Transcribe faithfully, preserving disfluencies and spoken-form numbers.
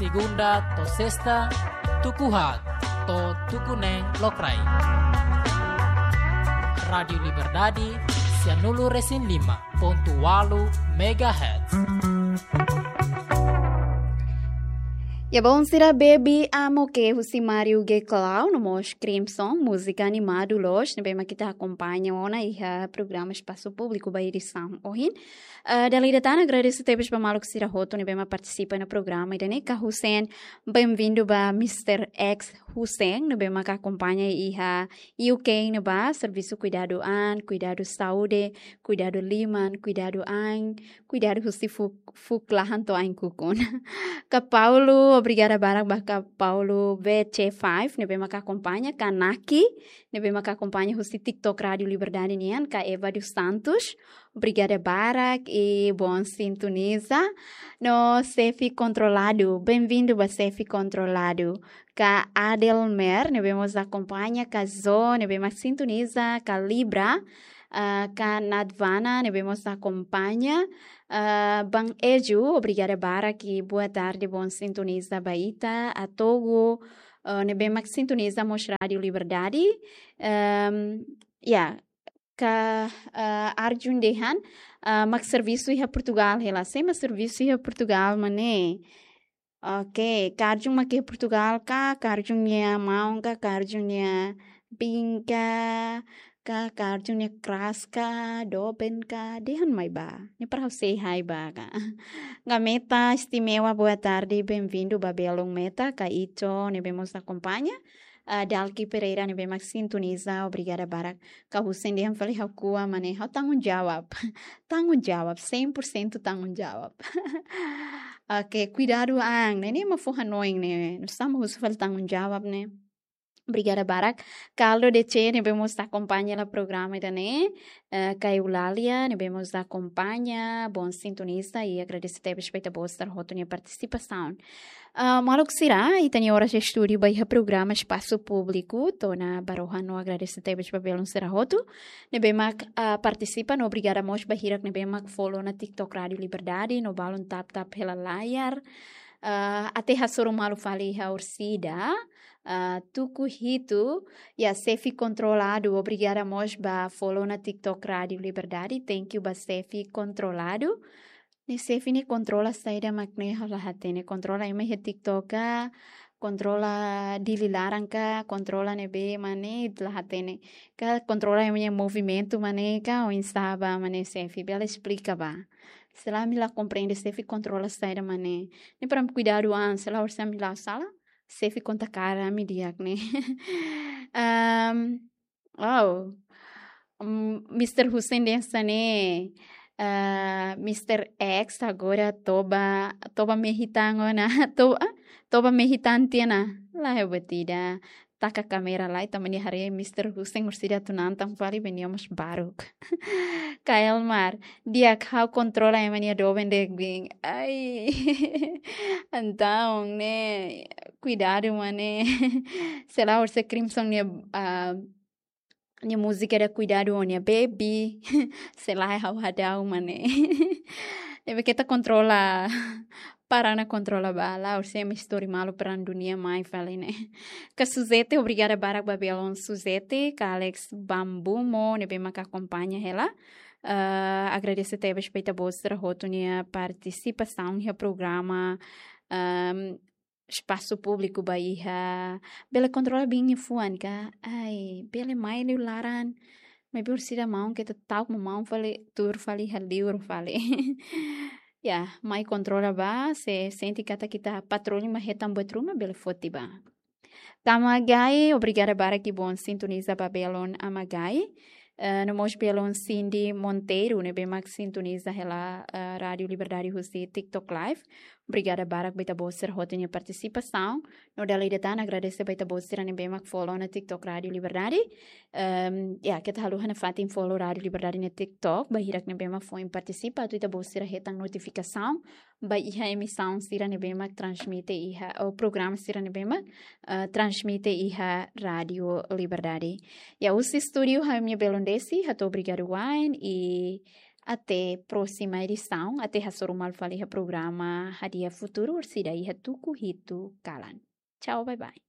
Segunda to'o sesta, tuku haat to'o tuku neen lokraik. Rádiu Liberdade, sianulu-resin-lima pontu ualu megahertz. Ya, bom, sira, Baby Amo Ke husi Mario G Clown, no mós Crimson, múzika animadu loos, ne'ebé mak ita akompaña ona iha programa Espasu Públiku ba edisaun ohin. Eh, dala ida tan agradese tebes ba maluk sira hotu ne'ebé mak partisipa iha programa ida-ne'e, ka Hussein, bem-vindo ba Mister X Hussein, ne'ebé mak akompaña iha U K ne'ebá, servisu kuidadu an, kuidadu saúde, kuidadu liman, kuidadu ain, kuidadu husi fuuk, fuuk lahan to'o ain-kukun. Ka Paulo, obrigada barak ba ka Paulo V C five, ne'ebé mak akompaña, ka Naki, ne'ebé mak akompaña husi TikTok Rádiu Liberdade nian, ka Eva dos Santos, obrigada barak i bom sintoniza. No Sefi Kontroladu, bem-vindo ba Sefi Kontroladu. Ka Adelmer, ne'ebé mós akompaña, ka Zo, ne'ebé mak sintoniza, ka Libra, ah, ka Nadvana, ne'ebé mós akompaña, ah, Ban Eju, obrigada barak i boa tarde, bom sintoniza ba ita, Atogo, ah, ne'ebé mak sintoniza mós Rádiu Liberdade. Ehm, ya, ka, ah, Arjun dehan, ah, mak servisu iha Portugal hela. Sé mak servisu iha Portugal, mana? Oke, ka Arjun mak iha Portugal ka, ka Arjun nia maun ka, ka Arjun nia biin ka, ka, ka Arjun nia kras ka, doben ka, dehan mai ba. Ne'e para ha'u say hi ba ka. Ka Meta Istimewa, boa tarde, bem-vindo ba belun Meta, ka Ito, ne'ebé mós akompaña. Ah, Dalki Pereira, ne'ebé mak sintoniza, obrigada barak. Ka Hussein dehan fali ha'u ko'a, mana, ha'u tanggung jawab. Tanggung jawab, cem por cento tanggung jawab. Oke, kuidadu an, ne'e, ne'e mak fó hanoin ne'e. Nusá mak husu fali tanggung jawab ne'e. Obrigada barak. Carlo D C, ne'ebé mós akompaña hela programa ida-ne'e. Eh, ka Eulalia, ne'ebé mós akompaña, bom sintoniza i agradese tebes ba ita-boot sira hotu nia partisipasaun. Ah, maluk sira, ita-nia oras estúdiu ba iha programa Espasu Públiku, to'o ona ba rohan no agradese tebes ba belun sira hotu ne'ebé mak, ah, partisipa, no obrigada mós ba hirak ne'ebé mak follow ona TikTok Rádiu Liberdade, no balun tap-tap hela layar. Ah, até hasoru malu fali iha orsida, ah, tuku hitu, ya, Sefi Kontroladu, obrigada mós ba follow ona TikTok Rádiu Liberdade, thank you ba Sefi Kontroladu. Ne'e Sefi ne'e kontrola saida mak ne'e, ha'u la hatene, kontrola ema iha TikTok ka, kontrola Dili laran ka, kontrola ne'ebé, mana, la hatene. Ka kontrola ema nia movimentu, mana, ka oinsá ba, mana, Sefi, bele esplika ba. Selae ami la komprende Sefi kontrola saida, mana. Ne'e para kuidadu an, selae orsida ami la sala, Sefi konta kaer ami di'ak ne'e. Ehm, Wow. Mm, Mister Hussein dehan hanesan ne'e, eh, Mister X agora toba, toba mehi tan ona, toba, ah, toba mehi tan tiha ona. Lae, buat ida. Taka kámera lai, tanba nia haree Mister Hussein orsida atu natan fali, be nia mós baruk. Ka Elmar, di'ak, ha'u kontrola ema nia doben de'it. Ai. Entaun, ne'e, kuidadu, mana. Selae orsida Crimson nia, ah, nia múzika ida kuidadu ho nia baby. Selae ha'u hadau, mana. Ne'ebé keta kontrola, para ona kontrola ba, lae orsida ema istori malu perang dunia mai fali ne'e. Ka Suzete, obrigada barak ba belun Suzete, ka Alex Bambumo, ne'ebé maka akompaña hela. Eh, agradese tebes ba ita-boot sira hotu nia partisipasaun iha programa, ehm, Espasu Públiku ba iha, bele kontrola biin nia fuan ka, ai, bele mai liu laran, maibé orsida maun keta ta'uk mak maun fali, tuur fali iha liur fali. Ya, mai kontrola ba, se sente katak ita patrullu mak hetan buat ruma, bele foti ba. Ka Magai, obrigada barak i bom sintoniza ba belun Amagai. Eh, no mós belun Cindy Monteiro, ne'ebé mak sintoniza hela, eh, Rádiu Liberdade husi TikTok Live. Obrigada barak ba ita-boot sira hotu nia partisipasaun. No dala ida tan agradese ba ita-boot sira ne'ebé mak follow ona TikTok Rádiu Liberdade. Ehm, ya, keta haluha nafatin follow Rádiu Liberdade nia TikTok, ba hirak ne'ebé mak foin partisipa, atu ita-boot sira hetan notifikasaun ba iha emisaun sira ne'ebé mak transmite iha, ou programa sira ne'ebé mak, eh, transmite iha Rádiu Liberdade. Ya, husi estúdiu ha'u-nia belun Desi, hato'o obrigadu wa'in, i Até próxima edição, até hasoru malu fali iha programa Hadi'a Futuru, orsida iha tuku hitu kalan. Tchau, bye bye.